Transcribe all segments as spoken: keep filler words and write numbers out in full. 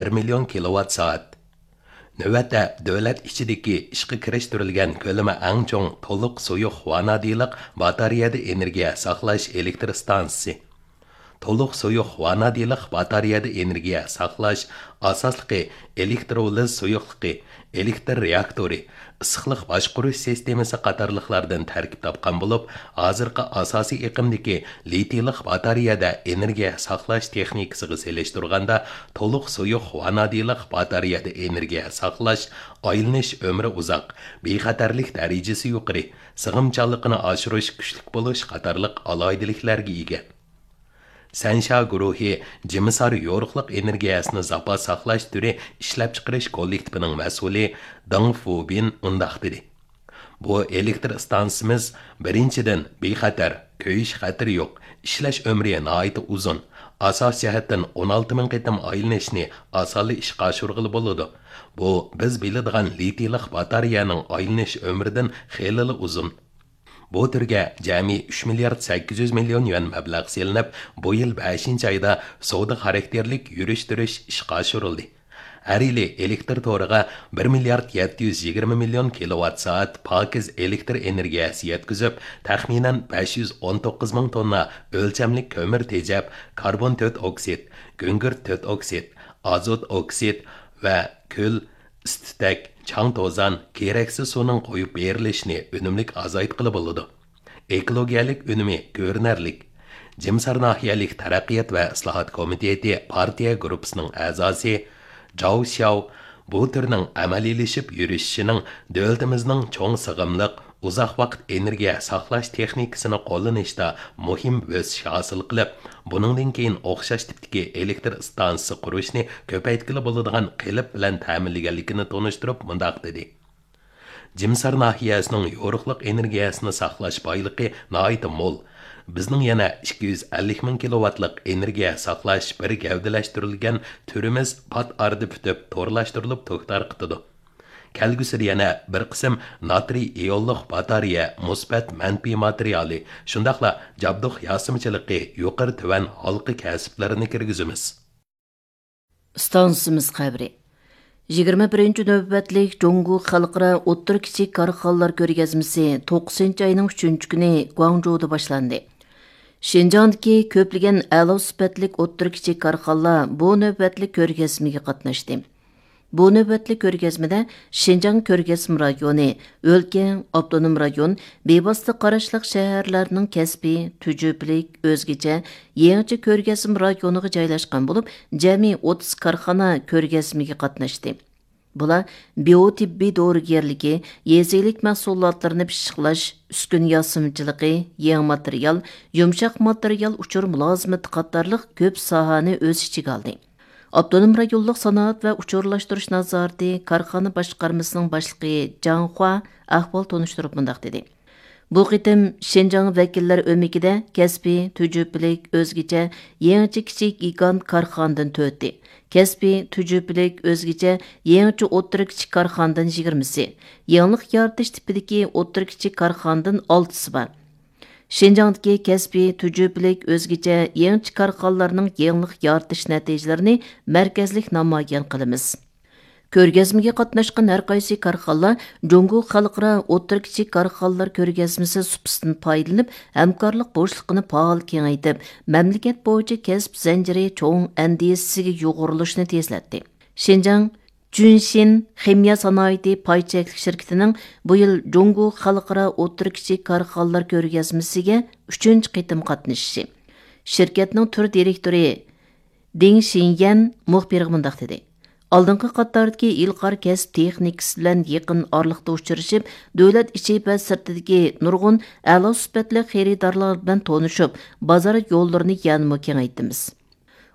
بىر مىليون كىلوۋات سائەت. نۆۋەتتە دۆلەت ئىچىدىكى ئىشقا كىرىشتۈرۈلگەن كۆلىمى ئەڭ چوڭ تولۇق سۇيۇق ۋانادىنلىق باتارېيەدە ئېنېرگىيە ساقلاش ئېلېكتر ئىستانسىسى. تولۇق سۇيۇق ۋانادىنلىق باتارېيەدە ئېنېرگىيە ساقلاش ئاساسلىقى ئېلېكترولىز سۇيۇقلۇقى، ئېلېكتر رېئاكتورى، ئىسسىقلىق باشقۇرۇش سىستېمىسى قاتارلىقلاردىن تەركىب تاپقان بولۇپ، ھازىرقى ئاساسىي ئېقىمدىكى لىتىيلىق باتارېيەدە ئېنېرگىيە ساقلاش تېخنىكىسىغا سېلىشتۇرغاندا، تولۇق سۇيۇق ۋانادىنلىق باتارېيەدە ئېنېرگىيە ساقلاش، ئايلىنىش ئۆمرى ئۇزاق، بىخەتەرلىك دەرىجىسى يۇقىرى، سىغىمچانلىقىنى ئاشۇرۇش كۈچلۈك بولۇش قاتارلىق ئالاھىدىلىكلەرگە ئىگە. سەنشيا گۇرۇھى جىمىسار يورۇقلۇق ئېنېرگىيەسىنى زاپاس ساقلاش تۈرى ئىشلەپچىقىرىش كوللېكتىپىنىڭ مەسئۇلى دېڭ فۇبىن مۇنداق دېدى: بۇ ئېلېكتر ئىستانسىمىز، بىرىنچىدىن، بىخەتەر، كۆيۈش خەتىرى يوق، ئىشلەش ئۆمرى ناھايىتى ئۇزۇن، ئاساسىي جەھەتتىن ئون ئالتە مىڭ قېتىم ئايلىنىشنى ئاسانلا ئىشقا ئاشۇرغىلى بولىدۇ. بۇ بىز بىلىدىغان لىتىيلىق باتارېيەنىڭ ئايلىنىش ئۆمرىدىن خېلىلا ئۇزۇن. بۇ تۈرگە جەمئىي ئۈچ مىليارد سەككىز يۈز مىليون يۈەن مەبلەغ سېلىنىپ، بۇ يىل بەشىنچى ئايدا سودا خاراكتېرلىك يۈرۈشتۈرۈش ئىشقا ئاشۇرۇلدى. ھەر يىلى ئېلېكتر تورىغا بىر مىليارد يەتتە يۈز يىگىرمە مىليون كىلوۋات سائەت پاكىز ئېلېكتر ئېنېرگىيەسى يەتكۈزۈپ، تەخمىنەن بەش يۈز ئون توققۇز مىڭ توننا ئۆلچەملىك كۆمۈر تېجەپ، كاربون تۆت ئوكسىد، گۈڭگۈرت تۆت ئوكسىد، ئازوت ئوكسىد ۋە كۈل، ئىس-تۈتەك، چاڭ-توزان، كېرەكسىز سۇنىڭ قويۇپ بېرىلىشىنى ئۈنۈملۈك ئازايتقىلى بولىدۇ. ئېكولوگىيەلىك ئۈنۈمى كۆرۈنەرلىك. جىمسار ناھىيەلىك تەرەققىيات ۋە ئىسلاھات كومىتېتى پارتىيە گۇرۇپپىسىنىڭ ئەزاسى جاۋ شياۋ بۇ تۈرنىڭ ئەمەلىيلىشىپ يۈرۈشۈشىنىڭ دۆلىتىمىزنىڭ چوڭ سىغىملىق، ئۇزاق ۋاقىت ئېنېرگىيە ساقلاش تېخنىكىسىنى قوللىنىشتا مۇھىم ئۆسۈش ھاسىل قىلىپ، بۇنىڭدىن كېيىن ئوخشاش تىپتىكى ئېلېكتر ئىستانسىسى قۇرۇشنى كۆپەيتكىلى بولىدىغان قېلىپ بىلەن تەمىنلىگەنلىكىنى تونۇشتۇرۇپ مۇنداق دېدى: جىمسار ناھىيەسىنىڭ يورۇقلۇق ئېنېرگىيەسىنى ساقلاش بايلىقى ناھايىتى مول. بىزنىڭ يەنە ئىككى يۈز ئەللىك مىڭ كىلوۋاتلىق ئېنېرگىيە ساقلاش بىر گەۋدىلەشتۈرۈلگەن تۈرىمىز پات ئارىدا پۈتۈپ، تورلاشتۇرۇلۇپ تۈك تارقىتىدۇ. كەلگۈسىدە يەنە بىر قىسىم ناترىي ئىيونلۇق باتارېيە مۇسبەت مەنپىي ماتېرىيالى، شۇنداقلا جابدۇق ياسىمىچىلىقى يۇقىرى تۆۋەن ھالقا كەسىپلىرىنى كىرگۈزىمىز. ئىستانسىمىز خەۋىرى. يىگىرمە بىرىنچى نۆۋەتلىك جۇڭگو خەلقئارا ئوتتۇرا كىچىك كارخانىلار كۆرگەزمىسى توققۇزىنچى ئاينىڭ ئۈچىنچى كۈنى گۇاڭجۇدا باشلاندى. شىنجاڭدىكى كۆپلىگەن ئەلا سۈپەتلىك ئوتتۇرا كىچىك كارخانىلار بۇ نۆۋەتلىك كۆرگەزمىگە قاتناشتى. بۇ نۆۋەتلىك كۆرگەزمىدە شىنجاڭ كۆرگەزمە رايونى، ئۆلكە، ئاپتونوم رايون، بىۋاسىتە قاراشلىق شەھەرلەرنىڭ كەسپىي، تۈجۈپىلىك، ئۆزگىچە، يېڭىچە كۆرگەزمە رايونىغا جايلاشقان بولۇپ، جەمئىي ئوتتۇز كارخانا كۆرگەزمىگە قاتناشتى. بۇلار بىيو تېببىي دورىگەرلىكى، يېزا ئىگىلىك مەھسۇلاتلىرىنى پىششىقلاش، ئۈسكۈنە ياسىمىچىلىقى، يېڭى ماتېرىيال، يۇمشاق ماتېرىيال ئۇچۇر مۇلازىمىتى قاتارلىق كۆپ ساھەنى ئۆز ئىچىگە ئالدى. ئاپتونوم رايونلۇق سانائەت ۋە ئۇچۇرلاشتۇرۇش نازارىتى كارخانا باشقارمىسىنىڭ باشلىقى جاڭ خۇا ئەھۋال تونۇشتۇرۇپ مۇنداق دېدى: بۇ قېتىم شىنجاڭ ۋەكىللەر ئۆمىكىدە كەسپىي، تۈجۈپىلىك، ئۆزگىچە، يېڭىچە كىچىك گىگانت كارخانىدىن تۆتى، كەسپىي، تۈجۈپىلىك، ئۆزگىچە، يېڭىچە ئوتتۇرا كىچىك كارخانىدىن يىگىرمىسى، يېڭىلىق يارىتىش تىپىدىكى ئوتتۇرا كىچىك كارخانىدىن ئالتىسى بار. شىنجاڭدىكى كەسپىي، تۈجۈپىلىك، ئۆزگىچە، يېڭىچە كارخانىلارنىڭ يېڭىلىق يارىتىش نەتىجىلىرىنى مەركەزلىك نامايان قىلىمىز. كۆرگەزمىگە قاتناشقان ھەر قايسى كارخانىلار جۇڭگو خەلقئارا ئوتتۇرا كىچىك كارخانىلار كۆرگەزمىسى سۇپىسىدىن پايدىلىنىپ، ھەمكارلىق بوشلۇقىنى پائال كېڭەيتىپ، مەملىكەت بويىچە كەسىپ زەنجىرى چوڭ ئەندىزىسىگە يۇغۇرۇلۇشنى تېزلەتتى. شىنجاڭ جۈنشىن خىمىيە سانائىتى پاي چەكلىك شىركىتىنىڭ بۇ يىل جۇڭگو خەلقئارا ئوتتۇرا كىچىك كارخانىلار كۆرگەزمىسىگە ئۈچىنچى قېتىم قاتنىشىشى. شىركەتنىڭ تۈر دىرېكتورى دېڭ شىنيەن مۇخبىرغا مۇنداق دېدى: ئالدىنقى قاتاردىكى ئىلغار كەسىپ تېخنىكىسى بىلەن يېقىن ئارىلىقتا ئۇچرىشىپ، دۆلەت ئىچى ۋە سىرتىدىكى نۇرغۇن ئەلا سۈپەتلىك خېرىدارلار بىلەن تونۇشۇپ، بازار يوللىرىنى يەنىمۇ كېڭەيتتىمىز.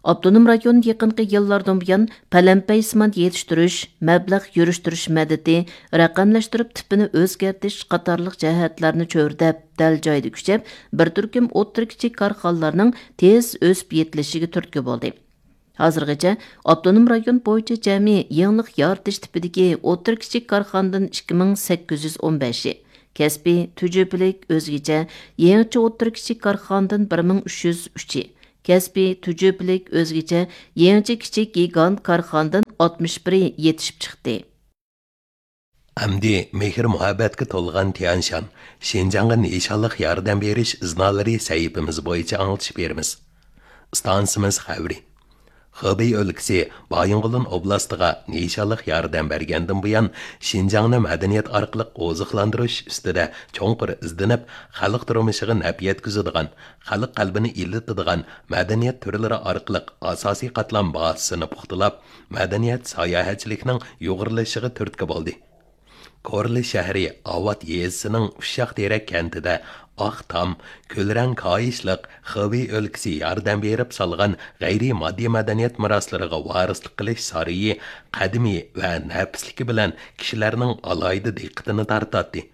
ئاپتونوم رايون يېقىنقى يىللاردىن بۇيان پەلەمپەيسىمان يېتىشتۈرۈش، مەبلەغ يۈرۈشتۈرۈش مەدىتى، رەقەملەشتۈرۈپ تىپىنى ئۆزگەرتىش قاتارلىق جەھەتلەرنى چۆرىدەپ، دەل جايىدا كۈچەپ، بىر تۈركۈم ئوتتۇرا كىچىك كارخانىلارنىڭ تېز ئۆسۈپ يېتىلىشىگە تۈرتكە بولدى. ھازىرغىچە ئاپتونوم رايون بويىچە جەمئىي يېڭىلىق يارىتىش تىپىدىكى ئوتتۇرا كىچىك كارخانىدىن ئىككى مىڭ سەككىز يۈز ئون بەشى، كەسپىي، تۈجۈپىلىك، ئۆزگىچە، يېڭىچە ئوتتۇرا كىچىك كارخانىدىن بىر مىڭ ئۈچ يۈز ئۈچى، كەسپىي، تۈجۈپىلىك، ئۆزگىچە، يېڭىچە كىچىك گىگانت كارخانىدىن ئاتمىش بىرى يېتىشىپ چىقتى. ئەمدى مېھىر-مۇھەببەتكە تولغان تيەنشان، شىنجاڭغا نىشانلىق ياردەم بېرىش ئىزنالىرى سەھىپىمىز بويىچە ئاڭلىتىش بېرىمىز. ئىستانسىمىز خەۋىرى. خېبېي ئۆلكىسى بايىنغولىن ئوبلاستىغا نىشانلىق ياردەم بەرگەندىن بۇيان، شىنجاڭنى مەدەنىيەت ئارقىلىق ئوزۇقلاندۇرۇش ئۈستىدە چوڭقۇر ئىزدىنىپ، خەلق تۇرمۇشىغا نەپ يەتكۈزىدىغان، خەلق قەلبىنى ئىللىتىدىغان مەدەنىيەت تۈرلىرى ئارقىلىق ئاساسىي قاتلام بازىسىنى پۇختىلاپ، مەدەنىيەت ساياھەتچىلىكنىڭ يۇغۇرۇلۇشىغا تۈرتكە بولدى. كورلا شەھىرى ئاۋات يېزىسىنىڭ ئۇششاق تېرەك كەنتىدە ئاق تام، كۈلرەڭ كاھىشلىق خېبېي ئۆلكىسى ياردەم بېرىپ سالغان غەيرىي ماددىي مەدەنىيەت مىراسلىرىغا ۋارىسلىق قىلىش سارىيى قەدىمىي ۋە نەپىسلىكى بىلەن كىشىلەرنىڭ ئالاھىدە دىققىتىنى تارتاتتى.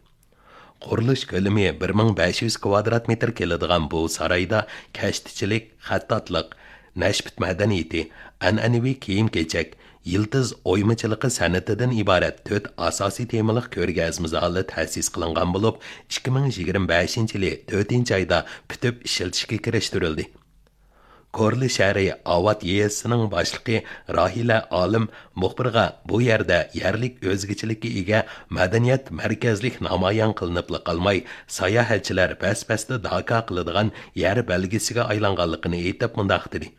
قۇرۇلۇش كۆلىمى بىر مىڭ بەش يۈز كۋادرات مېتىر كېلىدىغان بۇ سارايدا كەشتىچىلىك، خەتتاتلىق، نەشپۈت مەدەنىيىتى، ئەنئەنىۋى كىيىم-كېچەك، يىلتىز ئويمىچىلىقى سەنئىتىدىن ئىبارەت تۆت ئاساسىي تېمىلىق كۆرگەزمە زالى تەسىس قىلىنغان بولۇپ، ئىككى مىڭ يىگىرمە بەشىنچى يىلى تۆتىنچى ئايدا پۈتۈپ ئىشلىتىشكە كىرىشتۈرۈلدى. كورلا شەھىرى ئاۋات يېزىسىنىڭ باشلىقى راھىلە ئالىم مۇخبىرغا بۇ يەردە يەرلىك ئۆزگىچىلىككە ئىگە مەدەنىيەت مەركەزلىك نامايان قىلىنىپلا قالماي، ساياھەتچىلەر بەس-بەستە داكا قىلىدىغان يەر بەلگىسىگە ئايلانغانلىقىنى ئېيتىپ مۇنداق دېدى: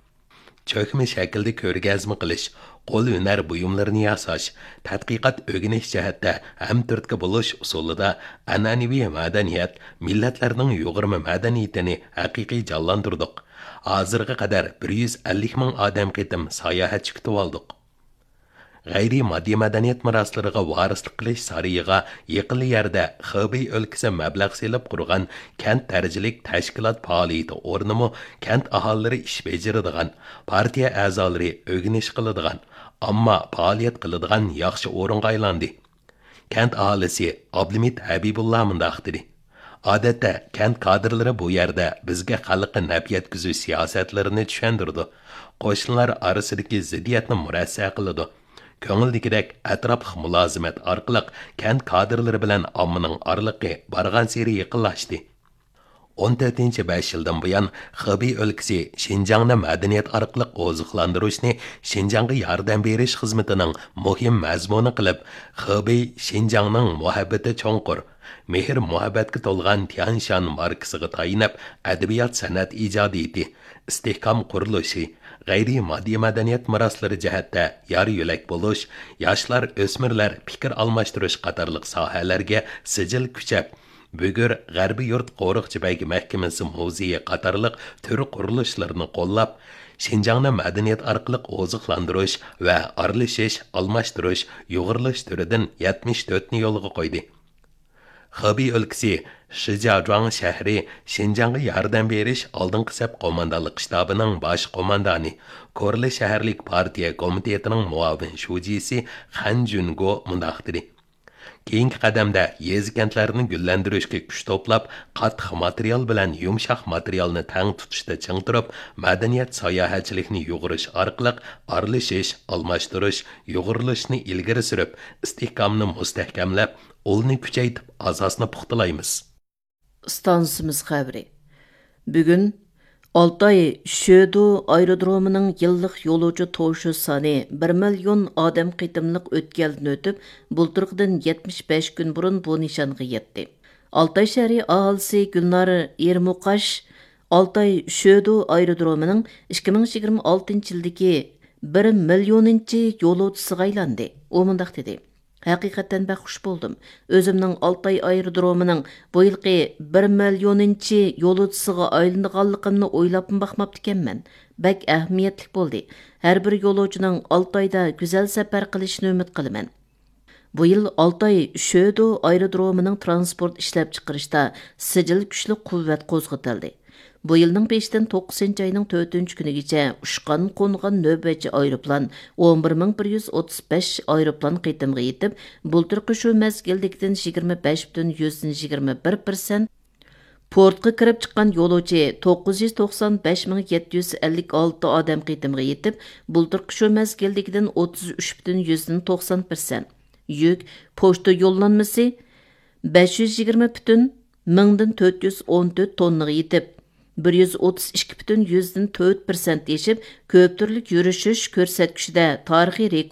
چۆكمە شەكىلدە كۆرگەزمە قىلىش، قول ھۈنەر بۇيۇملىرىنى ياساش، تەتقىقات ئۆگىنىش جەھەتتە ھەمتۈرتكە بولۇش ئۇسۇلىدا ئەنئەنىۋى مەدەنىيەت، مىللەتلەرنىڭ يۇغۇرما مەدەنىيىتىنى ھەقىقىي جانلاندۇردۇق. ھازىرغا قەدەر بىر يۈز ئەللىك مىڭ ئادەم قېتىم ساياھەتچى كۈتۈۋالدۇق. غەيرىي ماددىي مەدەنىيەت مىراسلىرىغا ۋارىسلىق قىلىش سارىيىغا يېقىنلا يەردە خېبېي ئۆلكىسى مەبلەغ سېلىپ قۇرغان كەنت دەرىجىلىك تەشكىلات پائالىيىتى ئورنىمۇ كەنت ئاھالىلىرى ئىش بېجىرىدىغان، پارتىيە ئەزالىرى ئۆگىنىش قىلىدىغان، ئامما پائالىيەت قىلىدىغان ياخشى ئورۇنغا ئايلاندى. كەنت ئاھالىسى ئابلىمىت ھەبىبۇللا مۇنداق دېدى: ئادەتتە كەنت كادىرلىرى بۇ يەردە بىزگە خەلققە نەپ يەتكۈزۈش سىياسەتلىرىنى چۈشەندۈرىدۇ، قوشنىلار ئارىسىدىكى زىددىيەتنى مۇرەسسە قىلىدۇ، كۆڭۈلدىكىدەك ئەتراپلىق مۇلازىمەت ئارقىلىق كەنت كادىرلىرى بىلەن ئاممىنىڭ ئارىلىقى بارغانسېرى يېقىنلاشتى. ئون تۆتىنچى بەش يىلدىن بۇيان خېبېي ئۆلكىسى شىنجاڭنى مەدەنىيەت ئارقىلىق ئوزۇقلاندۇرۇشنى شىنجاڭغا ياردەم بېرىش خىزمىتىنىڭ مۇھىم مەزمۇنى قىلىپ، خېبېي شىنجاڭنىڭ مۇھەببىتى چوڭقۇر، مېھىر-مۇھەببەتكە تولغان تيەنشان ماركىسىغا تايىنىپ، ئەدەبىيات-سەنئەت ئىجادىيىتى، ئىستىھكام قۇرۇلۇشى، غەيرىي ماددىي مەدەنىيەت مىراسلىرى جەھەتتە يار-يۆلەك بولۇش، ياشلار، ئۆسمۈرلەر پىكىر ئالماشتۇرۇش قاتارلىق ساھەلەرگە سىجىل كۈچەپ، بۈگۈر غەربىي يۇرت قورۇقچى بەگ مەھكىمىسى مۇزېيى قاتارلىق تۈر قۇرۇلۇشلىرىنى قوللاپ، شىنجاڭنى مەدەنىيەت ئارقىلىق ئوزۇقلاندۇرۇش ۋە ئارىلىشىش، ئالماشتۇرۇش، يۇغۇرۇلۇش تۈرىدىن يەتمىش تۆتنى يولغا قويدى. خېبېي ئۆلكىسى شىجياجۇاڭ شەھىرى شىنجاڭغا ياردەم بېرىش ئالدىنقى سەپ قوماندانلىق شتابىنىڭ باش قوماندانى، كورلا شەھەرلىك پارتىيە كومىتېتىنىڭ مۇئاۋىن شۇجىسى خەن جۈنگو مۇنداق دېدى: كېيىنكى قەدەمدە يېزا-كەنتلەرنى گۈللەندۈرۈشكە كۈچ توپلاپ، قاتتىق ماتېرىيال بىلەن يۇمشاق ماتېرىيالنى تەڭ تۇتۇشتا چىڭ تۇرۇپ، مەدەنىيەت ساياھەتچىلىكنى يۇغۇرۇش ئارقىلىق ئارىلىشىش، ئالماشتۇرۇش، يۇغۇرۇلۇشنى ئىلگىرى سۈرۈپ، ئىستىھكامنى مۇستەھكەملەپ، ئۇلنى كۈچەيتىپ، ئاساسنى پۇختىلايمىز. ئىستانسىمىز خەۋىرى. بۈگۈن ئالتاي شۆدو ئايرودرومىنىڭ يىللىق يولۇچى توشۇش سانى بىر مىليون ئادەم قېتىملىق ئۆتكەلدىن ئۆتۈپ، بۇلتۇرقىدىن يەتمىش بەش كۈن بۇرۇن بۇ نىشانغا يەتتى. ئالتاي شەھىرى ئاھالىسى گۈلنار ئېرمۇقاش ئالتاي شۆدو ئايرودرومىنىڭ ئىككى مىڭ يىگىرمە ئالتىنچى يىلدىكى بىر مىليونىنچى يولۇچىسىغا ئايلاندى. ئۇ مۇنداق دېدى: ھەقىقەتەن بەك خۇش بولدۇم. ئۆزۈمنىڭ ئالتاي ئايرودرومىنىڭ بۇ يىلقى بىر مىليونىنچى يولۇچىسىغا ئايلىنىدىغانلىقىمنى ئويلاپمۇ باقماپتىكەنمەن. بەك ئەھمىيەتلىك بولدى. ھەر بىر يولۇچىنىڭ ئالتايدا گۈزەل سەپەر قىلىشىنى ئۈمىد قىلىمەن. بۇ يىل ئالتاي شۆدو ئايرودرومىنىڭ ترانسپورت ئىشلەپچىقىرىشتا سىجىل كۈچلۈك قۇۋۋەت قوزغىتىلدى. بۇ يىلنىڭ بېشىدىن توققۇزىنچى ئاينىڭ تۆتىنچى كۈنىگىچە ئۇچقان، قونغان نۆۋەتچى ئايروپىلان ئون بىر مىڭ بىر يۈز ئوتتۇز بەش ئايروپىلان قېتىمغا يېتىپ، بۇلتۇرقى شۇ مەزگىلدىكىدىن يىگىرمە بەش پۈتۈن يۈزدىن يىگىرمە بىر پىرسەنت، پورتقا كىرىپ چىققان يولۇچى توققۇز يۈز توقسان بەش مىڭ يەتتە يۈز ئەللىك ئالتە ئادەم قېتىمغا يېتىپ، بۇلتۇرقى شۇ مەزگىلدىكىدىن ئوتتۇز ئۈچ پۈتۈن يۈزدىن توقسان پىرسەنت، يۈك، پوچتا يوللانمىسى بەش يۈز يىگىرمە پۈتۈن مىڭدىن تۆت يۈز ئون تۆت توننىغا يېتىپ، بىر يۈز ئوتتۇز ئىككى پۈتۈن يۈزدىن تۆت پىرسەنت ئېشىپ، كۆپ تۈرلۈك يۈرۈشۈش كۆرسەتكۈچىدە تارىخىي رېكورت